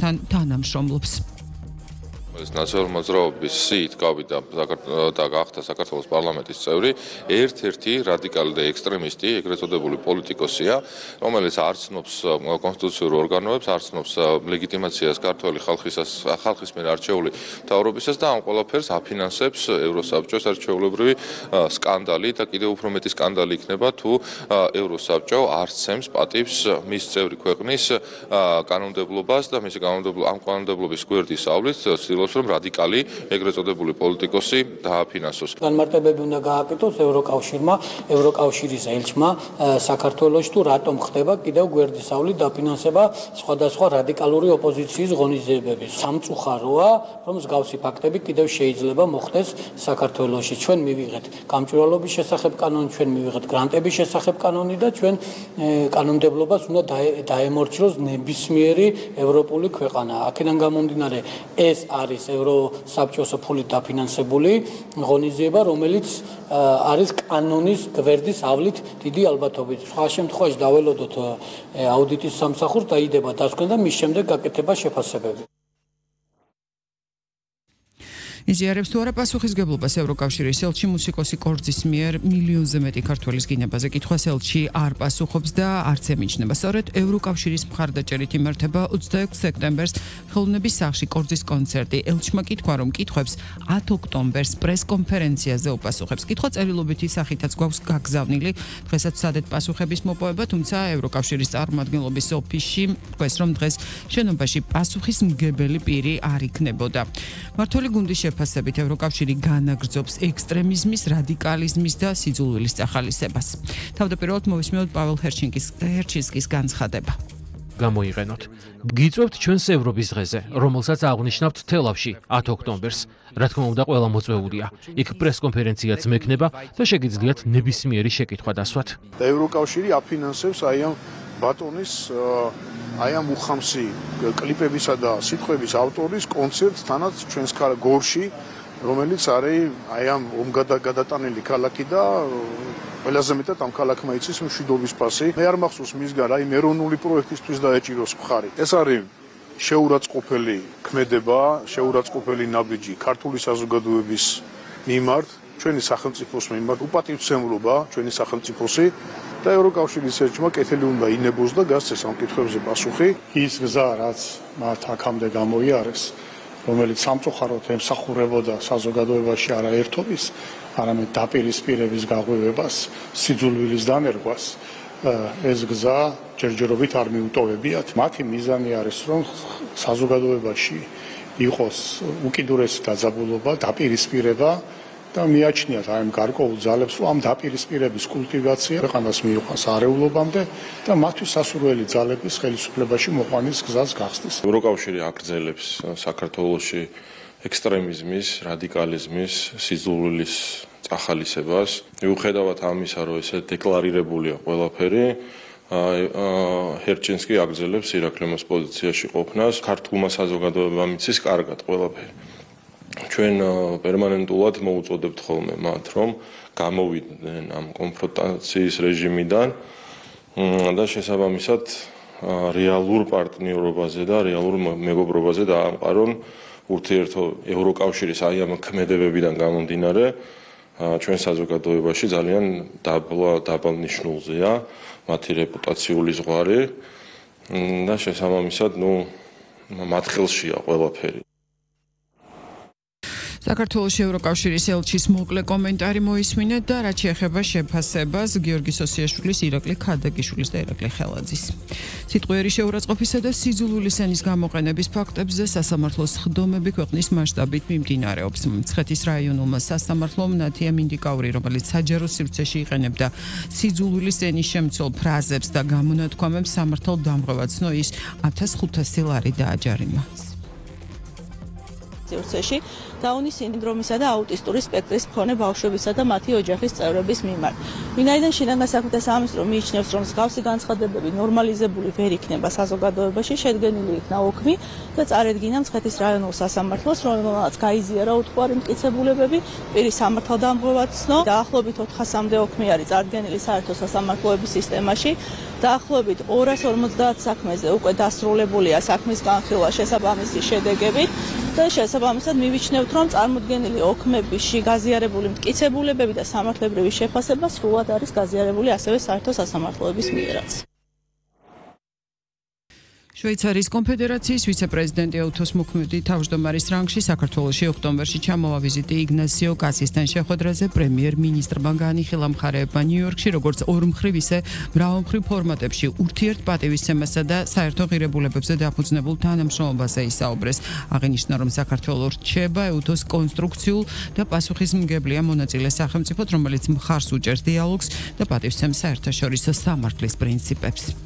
თანამშრომლობს. ნაციონალური მოძრაობის სიით გავიდა და გახდა საქართველოს პარლამენტის წევრი ერთ-ერთი რადიკალი და ექსტრემისტი, ეგრეთ წოდებული პოლიტიკოსია, რომელიც არ ცნობს კონსტიტუციურ ორგანოებს, არ ცნობს ლეგიტიმაციას ქართველი ხალხის მიერ არჩეული მთავრობისას და ამ ყველაფერს აფინანსებს ევროსაბჭოს არჩეულებრივი სკანდალი და კიდევ უფრო მეტი სკანდალი იქნება თუ ევროსაბჭო არ სცემს პატივს მის წევრი ქვეყნის კანონმდებლობას და მისი ამ კანონმდებლობის გვერდისავლით რომ რადიკალი ეგრეთ წოდებული პოლიტიკოსი დააფინანსოს. განმარტებები უნდა გააკეთოს ევროკავშირმა, ევროკავშირის ელჩმა საქართველოში თუ რატომ ხდება კიდევ გვერდისავლით დაფინანსება სხვადასხვა რადიკალური ოპოზიციის ღონისძიებები. სამწუხაროა, რომ მსგავსი ფაქტები კიდევ შეიძლება მოხდეს საქართველოში. ჩვენ მივიღეთ გამჭვირვალობის შესახებ კანონი, ჩვენ მივიღეთ გრანტების შესახებ კანონი და ჩვენ კანონმდებლობას უნდა დაემორჩილოს ნებისმიერი ევროპული ქვეყანა. აქედან გამომდინარე ეს არის ევროსაბჭოს ფულით დაფინანსებული ღონისძიება, რომელიც არის კანონის გვერდისავლით დიდი ალბათობით. სხვა შემთხვევაში დაველოდოთ აუდიტის სამსახურს დაიდება დასკვნა და მის შემდეგ გაკეთება შეფასებები. იზიარებს თუ არა პასუხისგებლობას ევროკავშირის ელჩი მუსიკოსი კორძის მიერ მილიონზე მეტი ქართველის გინებაზე კითხვას ელჩი არ პასუხობს და არც ემიჯნება. სწორედ ევროკავშირის მხარდაჭერით იმართება 26 სექტემბერს ხელოვნების სახლში კორძის კონცერტი. ელჩმა კითხვა რომ კითხვებს 10 ოქტომბერს პრესკონფერენციაზე უპასუხებს. კითხვა წერილობითი სახითაც გვაქვს გაგზავნილი. დღესაც ვცადეთ პასუხების მოპოვება, თუმცა ევროკავშირის წარმომადგენლობის ოფისში თქვეს რომ დღეს შენობაში პასუხისმგებელი პირი არ იქნებოდა. მმართველი გუნდის შეფასებით ევროკავშირი განაგრძობს ექსტრემიზმის, რადიკალიზმის და სიძულვილის წახალისებას. თავდაპირველად მოვისმინოთ პაվել ჰერჩინსკის განცხადება. გამოიყენოთ. გიწევთ ჩვენს ევროპის დღეზე, რომელსაც აღნიშნავთ თელავში 10 ოქტომბერს. რა თქმა უნდა, ყველა მოწვეულია. იქ პრესკონფერენციაც მექნება და შეგიძლიათ ნებისმიერი შეკითხვა დასვათ. ევროკავშირი აფინანსებს ამ ბატონის ამ უხამსი კლიპებისა და სიტყვების ავტორის კონცერტს თანაც ჩვენს გორში, რომელიც არის ამ ომგადატანილი ქალაქი და ყველაზე მეტად ამ ქალაქმა იცის მშვიდობის პასი. მე არ მახსოვს მისგან ეროვნული პროექტისთვის დაეჭიროს მხარი. ეს არის შეურაცხყოფელი ქმედება, შეურაცხყოფელი ნაბიჯი ქართული საზოგადოების მიმართ, ჩვენი სახელმწიფოს მიმართ, უპატივცემლობა ჩვენი სახელმწიფოსი და ევროკავშირის ელჩმა კეთილი უნდა ინებოს და გასცეს ამ კითხვებზე პასუხი. ის გზა, რაც მათ აქამდე გამოიარეს, რომელიც სამწუხაროდ ემსახურებოდა საზოგადოებაში არა ერთობის, არამედ დაპირისპირების გაღვივებას, სიძულვილის დანერგვას, ეს გზა ჯერჯერობით არ მიუტოვებიათ. მათი მიზანი არის, რომ საზოგადოებაში იყოს უკიდურესი დაძაბულობა, დაპირისპირება და მიაჩნიათ ამ გარკვეულ ძალებს, რომ ამ დაპირისპირების კულტივაცია ქვეყანას მიიყვანს არეულობამდე და მათთვის სასურველი ძალების ხელისუფლებაში მოყვანის გზას გახსნის. ევროკავშირი აგრძელებს საქართველოში ექსტრემიზმის, რადიკალიზმის, სიძულვილის წახალისებას. მიუხედავად ამისა, რომ ესე დეკლარირებულია ყველაფერი, ჰერჩინსკი აგრძელებს ირაკლიმოს პოზიციაში ყოფნას. ქართულმა საზოგადოებამ იცის კარგად ყველაფერი. ჩვენ პერმანენტულად მოუწოდებთ ხოლმე მათ, რომ გამოვიდნენ ამ კონფრონტაციის რეჟიმიდან და შესაბამისად რეალურ პარტნიორობაზე და რეალურ მეგობრობაზე დაამყარონ ურთიერთო ევროკავშირის ამ ქმედებებიდან გამომდინარე ჩვენ საზოგადოებაში ძალიან დაბალ ნიშნულზეა მათი რეპუტაციული ზღვარი და შესაბამისად მათ ხელშია ყველაფერი. საქართველოში ევროკავშირის ელჩის მოკლე კომენტარი მოისმინეთ და რაც შეეხება შეფასებას გიორგი სოსიაშვილის, ირაკლი ქადაგიშვილის და ირაკლი ხელაძის. სიტყვიერი შეურაცხყოფისა და სიძულვილის ენის გამოყენების ფაქტებზე სასამართლოს სხდომები ქვეყნის მასშტაბით მიმდინარეობს. მცხეთის რაიონულმა სასამართლომ ნათია მინდიკაური, რომელიც საჯარო სივრცეში იყენებდა სიძულვილის ენის შემცველ ფრაზებს და გამონათქვამებს სამართალ დამღვრევად ცნო, ის 1500 ლარი დააჯარიმა. სივრცეში დაუნის სინდრომისა და აუტისტური სპექტრის მქონე ბავშვებისა და მათი ოჯახის წევრების მიმართ. ვინაიდან შინაგან საქმეთა სამინისტრო მიიჩნევს, რომ მსგავსი განცხადებები ნორმალიზებული ვერ იქნება საზოგადოებაში, შედგენილი იქნა ოქმი და წარედგინა მცხეთის რაიონულ სასამართლოს, რომელმაც გაიზიარა უთხოვარი მტკიცებულებები პირის სამართალდამღვრად ცნო. დაახლოებით 400-მდე ოქმი არის წარდგენილი საერთო სასამართლოების სისტემაში. დაახლოებით 250 საქმეზე უკვე დასრულებულია საქმის განხილვა შესაბამისი შედეგებით და შესაბამისად მივიჩნევთ, რომ წარმოდგენილი ოქმებში გაზიარებული მტკიცებულებები და სამართლებრივი შეფასება სრულად არის გაზიარებული ასევე საერთო სასამართლოების მიერაც. შვეიცარიის კონფედერაციის ვიცე-პრეზიდენტი უთოს მოქმედი თავმჯდომარის რანგში საქართველოში ოქტომბერში ჩამოვა ვიზიტი იგნასიო კასისთან შეხვედრაზე პრემიერ-მინისტრმა განიხილა მხარეებმა ნიუ-იორკში როგორც ორმხრივ ისე მრავალმხრივ ფორმატებში ურთიერთპატივისცემასა და საერთო ღირებულებებზე დაფუძნებულ თანამშრომლობაზე ისაუბრეს. აღინიშნა, რომ საქართველო რჩება უთოს კონსტრუქციულ და პასუხისმგებლია მონაწილე სახელმწიფოდ, რომელიც მხარს უჭერს დიალოგს და პატივისცემს საერთაშორისო სამართლის პრინციპებს.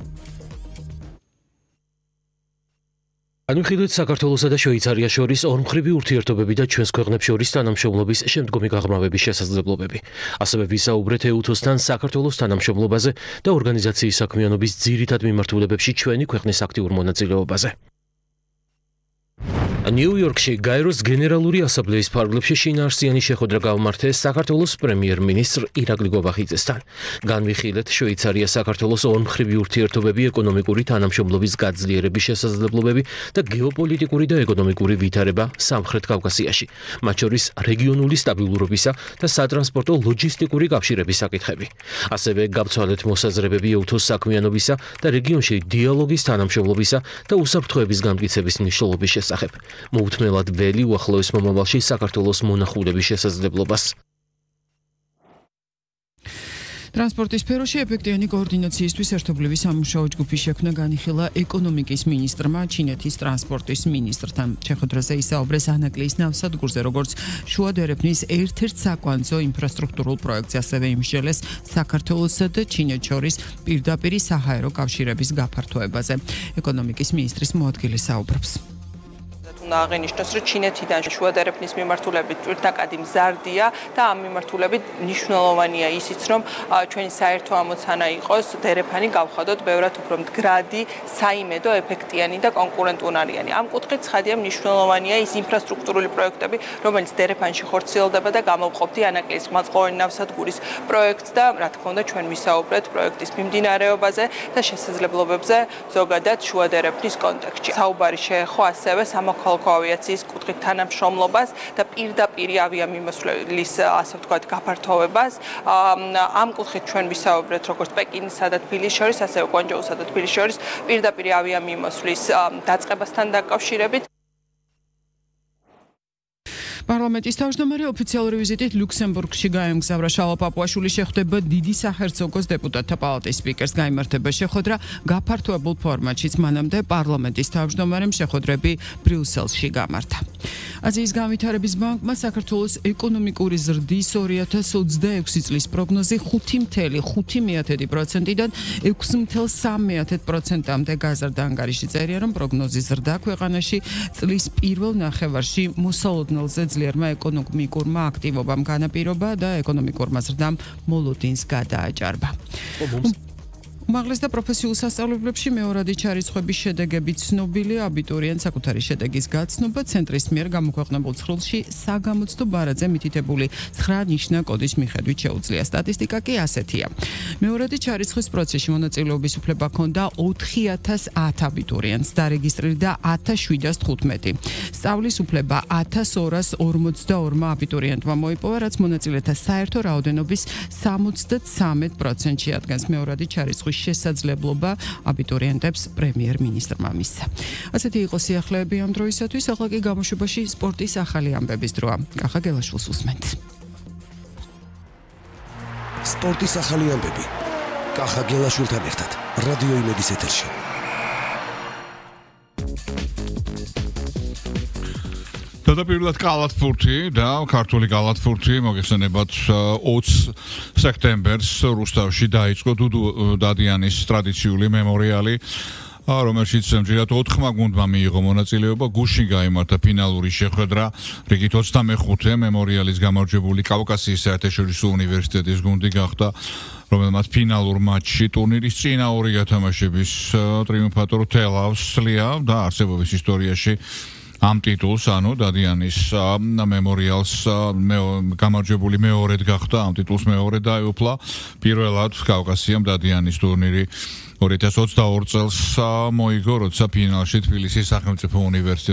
განვიხილეთ საქართველოსა და შვეიცარიას შორის ორმხრივი ურთიერთობები და ჩვენს ქვეყნებს შორის თანამშრომლობის შემდგომი გაღრმავების შესაძლებლობები. ასევე ვისაუბრეთ ეუთოსთან საქართველოს თანამშრომლობაზე და ორგანიზაციის საქმიანობის ძირითად მიმართულებებში ჩვენი ქვეყნის აქტიურ მონაწილეობაზე. ნიუ-იორკში გაეროს გენერალური ასამბლეის ფარგლებში შინაარსიანი შეხვედრა გამართეს საქართველოს პრემიერ-მინისტრ ირაკლი გობახიძესთან. განვიხილეთ შვეიცარია საქართველოს ორმხრივი ურთიერთობები, ეკონომიკური თანამშრომლობის გაძლიერების შესაძლებლობები და გეოპოლიტიკური და ეკონომიკური ვითარება სამხრეთ კავკასიაში, მათ შორის რეგიონული სტაბილურობისა და სატრანსპორტო ლოჯისტიკური კავშირების საკითხები. ასევე გავცვალეთ მოსაზრებები ეუთოს საქმიანობისა და რეგიონში დიალოგის თანამშრომლობისა და უსაფრთხოების გამტკიცების მნიშვნელობის შესახებ. მოუთმელად ველი უახლოეს მომავალში საქართველოს მონახულების შესაძლებლობას. ტრანსპორტის სფეროში ეფექტიანი კოორდინაციისთვის ერთობლივი სამუშაო ჯგუფის შექმნა განიხილა ეკონომიკის მინისტრმა ჩინეთის ტრანსპორტის მინისტრთან. შეხვედრაზე ისაუბრეს ანაკლიის ნავსადგურზე, როგორც შუა დერეფნის ერთ-ერთ საკვანძო ინფრასტრუქტურულ პროექტზე, ასევე იმსჯელეს საქართველოსა და ჩინეთს შორის პირდაპირი საჰაერო კავშირების გაფართოებაზე. ეკონომიკის მინისტრის მოადგილე საუბრობს. უნდა აღინიშნოს, რომ ჩინეთიდან შუა დერეფნის მიმართულებით პირდაპირ მზარდია და ამ მიმართულებით მნიშვნელოვანია ისიც, რომ ჩვენი საერთო ამოცანა იყოს დერეფანი გავხადოთ ბევრად უფრო მდგრადი, საიმედო, ეფექტიანი და კონკურენტუნარიანი. ამ კუთხით ცხადია მნიშვნელოვანია ის ინფრასტრუქტურული პროექტები, რომელიც დერეფანში ხორციელდება და გამოვყოფდი ანაკლიის ყმაწყოვანი ნავსადგურის პროექტს და რა თქმა უნდა ჩვენ ვისაუბრეთ პროექტის მიმდინარეობაზე და შესაძლებლობებზე ზოგადად შუა დერეფნის კონტექსტში. საუბარი შეეხო ასევე სამოქალაქო ავიაციის კუთხით თანამშრომლობას და პირდაპირ ავიამიმოსვლის, ასე ვთქვათ, გაფართოვებას. ამ კუთხით ჩვენ ვისაუბრეთ როგორც პეკინსა და თბილისის შორის, ასევე კვანჯოუსა და თბილისის შორის პირდაპირ ავიამიმოსვლის დაწყებასთან დაკავშირებით. პარლამენტის თავმჯდომარე ოფიციალური ვიზიტით ლუქსემბურგში გაემგზავრა. შალვა პაპუაშვილი შეხვდება დიდი საჰერცოგოს დეპუტატთა პალატის სპიკერს. გაიმართება შეხვედრა გაფართოებულ ფორმატშიც. მანამდე პარლამენტის თავმჯდომარემ შეხვედრები ბრიუსელში გამართა. აზიის განვითარების ბანკმა საქართველოს ეკონომიკური ზრდის 2026 წლის პროგნოზი 5.5%-დან 6.3%-მდე გაზრდა. ანგარიში წერია, რომ პროგნოზის ზრდა ქვეყანაში წლის პირველ ნახევარში მოსალოდნელზე ძლიერმა ეკონომიკურმა აქტივობამ განაპირობა და ეკონომიკურმა ზრდამ მოლოდინს გადააჭარბა. უმაღლეს და პროფესიულ სასწავლებლებში მეორადი ჩარიცხვების შედეგები ცნობილია. აბიტურიენტ საკუთარი შედეგის გაცნობა ცენტრის მიერ გამოქვეყნებულ ცხრილში საგამოცდო ბარათზე მითითებული 9 ნიშნა კოდის მიხედვით შეუძლია. სტატისტიკა კი ასეთია. მეორადი ჩარიცხვის პროცესში მონაწილეობის უფლება ჰქონდა 4010 აბიტურიენტს, დარეგისტრირდა 1715. სწავლის უფლება 1242 აბიტურიენტმა მოიპოვა, რაც მონაწილეთა საერთო რაოდენობის 73%-ში ადგას. მეორადი ჩარიცხვის შესაძლებლობა აბიტურიენტებს პრემიერ-მინისტრმა მისცა. ასეთი იყო სიახლეები ამ დროისათვის. ახლა კი გამოშვებაში სპორტის ახალი ამბების დროა. კახა გელაშვილს უსმენთ. სპორტის ახალი ამბები. კახა გელაშვილთან ერთად რადიო იმედის ეთერში. დადაპირულად კალათბურთი და ქართული კალათბურთი მოგეხსენებათ 20 სექტემბერს რუსთავში დაიწყო დუდუ დადიანის ტრადიციული მემორიალი რომელშიც ჯერათ 4 გუნდმა მიიღო მონაწილეობა, გუშინ გაიმართა ფინალური შეხვედრა, რიგით 25 მემორიალის გამარჯვებული კავკასიის საერთაშორისო უნივერსიტეტის გუნდი გახდა, რომელმაც ფინალურ მატჩში ტურნირის წინა 2 გათამაშების ტრიუმფატორ თელავს სლია და არსებობის ისტორიაში ამ ტიტულს, ანუ დადიანის მემორიალს გამარჯვებული მეორედ გახდა, ამ ტიტულს მეორე დაეუფლა. პირველად კავკასიამ დადიანის ტურნირი 2022 წელს მოიგო, როცა ფინალში თბილისის სახელმწიფო უნივერსიტეტი